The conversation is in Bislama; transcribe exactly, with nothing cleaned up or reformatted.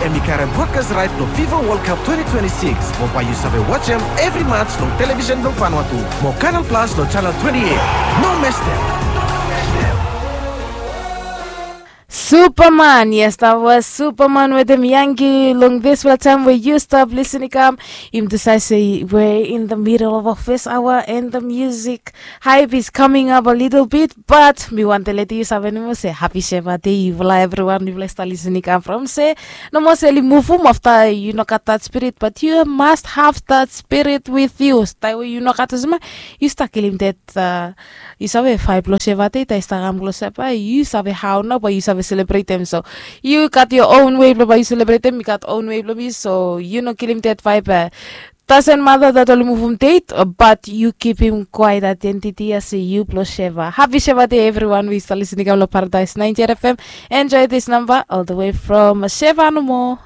Em i karem broadcast right long fifa world cup twenty twenty-six mo bai yu save watch em evri match long television blong fanua tu mo kanal plus long channel twenty-eight. No mestem. Superman, yes, that was Superman with dem Yankee long this well time where you stop listening come. Im decide say we're in the middle of office hour and the music hype is coming up a little bit, but mi want to let you sabe no more say happy Sheva day. Yufala everyone, yufala start listening come from say no more say move home after you no got that spirit, but you must have that spirit with you. Stay where you no got as you start killing that uh, yu save faif blong Sheva dei taim i stap kam klosap, bai yu save hau nao bai yu save selebretem. So yu gat yo own wei blong bai yu selebretem, mi gat own wei blong mi. So yu no kilim det vaib. Doesn't matter that oli muvum date, but you keep him quiet identity as a you blong Sheva. Happy Sheva day everyone. We start listening kam long Paradise ninety-eight F M. Enjoy this number all the way from Sheva no more.